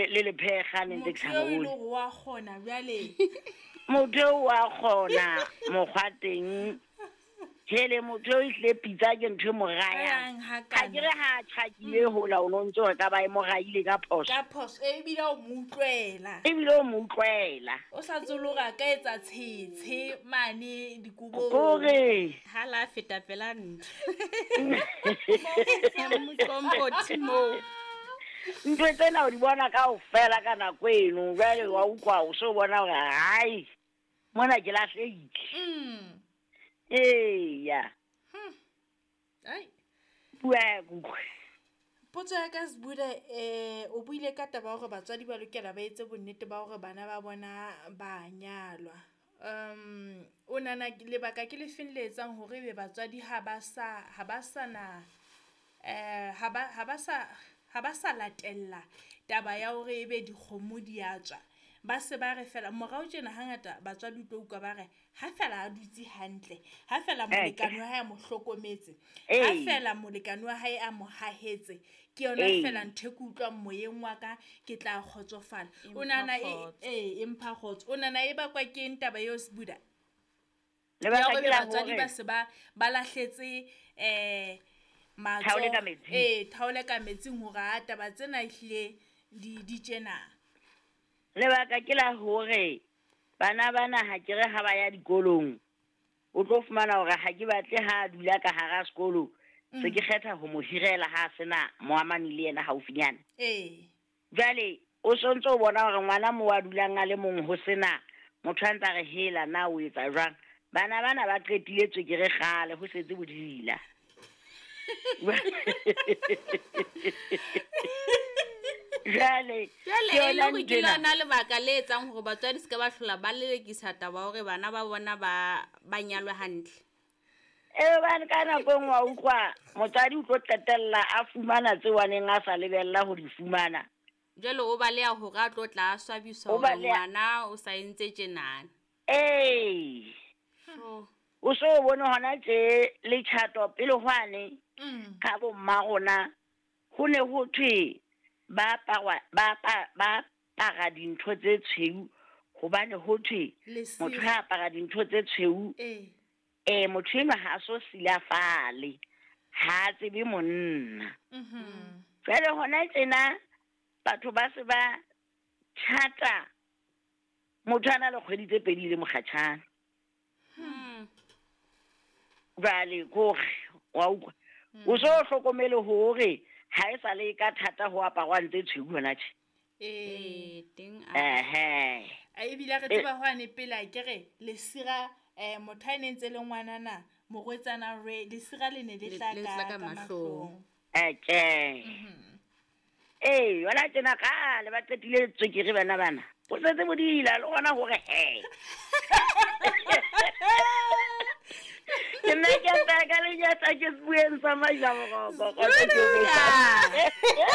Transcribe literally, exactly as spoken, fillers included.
le le lephekga ne ntse ke sa Motho eo e mo le bone. hore wa kgona jwale. Motho eo wa kgona mokgwa teng. Hele, motho eo ehlile pitsa ke ntho e mo rayang. Rayang Ha ke hakana. re ha tjhakile hola o no ntso re ka ba e mo raile ka phoso. Ka phoso ebile o mo utlwela. Ebile o mo utlwela. O sa tswe le hore a ka etsa tshetshe mane dikobong. Kore Ha la feta pela ntlo. Moqombothi moo. Ntho tsena o di bona kaofela ka nako eno. Jwale wa utlwa o so bona hore hai, mona ke lahlehile. Mm. Eya. Hmm. Ai. Bua ya kutlwe. Potso ya ka Sbuda, eh, o buile ka taba ya hore batswadi ba lokela ba etse bonnete ba hore bana ba bona ba nyalwa. Um, o nahana lebaka ke le feng le etsang hore ebe batswadi ha ba sa, ha ba sa na, eh, ha ba, ha ba sa, ha ba sa latella taba ya hore ebe dikgomo di a tswa. Ba se ba re fela morao tjena hangata batswadi o tlo utlwa ba re ha fela a dutse hantle, ha fela Eh, molekane wa hae a mo hlokometse, ha Ee. fela molekane wa hae a mo hahetse, ke yona Ee. fela ntho e ke utlwang moyeng wa ka, ke tla kgotsofala. E O nahana mpha e, kgotso. ee, e mpha kgotso. O nahana e bakwa ke eng taba eo, Sbuda? Lebaka Ya hore ke la batswadi hore ba se ba, ba lahletse, eh, matsoho. Thaole ka metsing. Ee, thaole ka metsing hore ha taba tsena ehlile di, di tjena. Lebaka ke la hore bana bana ha ke re ha ba ya dikolong, o tlo fumana hore ha ke batle ha a dula ka hara sekolo, se ke kgetha ho mo hirela ha a sena moamani le yena haufinyana. Ee. Jwale o sontso o bona hore ngwana moo a dulang a le mong ho sena motho a ntsa re hela na o etsa jwang. Bana bana ba qetile tswekere kgale ho setse bodila. Jwale, Jwale ke e le yona hore ke nthwena. lona lebaka le etsang hore batswadi se ka ba hlola ba lelekisa taba hore bana ba bona ba, ba nyalwe hantle. Ee, hobane ka nako e nngwe wa utlwa motswadi o tlo qetella a fumana tseo a neng a sa lebella ho di fumana. Jwale o baleha hore a tlo tla a swabiswa O hore baleha. ngwana o sa entse tjenana. Ee. Sure. O so o bone hona tje letjhato pele hwane Mm. ka bo mma rona ho ne ho thwe ba aparwa, ba apa-, ba apara dintho tse tshweu hobane ho thwe Lesira. motho ha apara dintho tse tshweu, Eh. eh, motho enwa ha a so silafale, ha a tsebe monna. Mhm. Jwale hona tjena batho ba se ba tjhata motho a na le kgwedi tse pedi le mokgatjhane. Hmm. Jwale ke hore wa utlwa, o so hlokomele hore ha e sa le ka thata ho aparwang tse tshweu hona tje. Ee. Ee, teng a- Ehe. A ebile re Eh. tseba hwane pele a ke re lesira, eh, motho ha e ne ntse le ngwanana, morwetsana re, lesira le ne le Le- tla le ka- tla ka ka mahlong. mahlong. Eke. Mhm. Ee, yona tjena kgale ba qetile tswekere bana bana. O setse bodila le hona hore he. Ke nna ke tla ka lenyatsa ke sebueng sa Majaboroko, kgotsa ke Buda!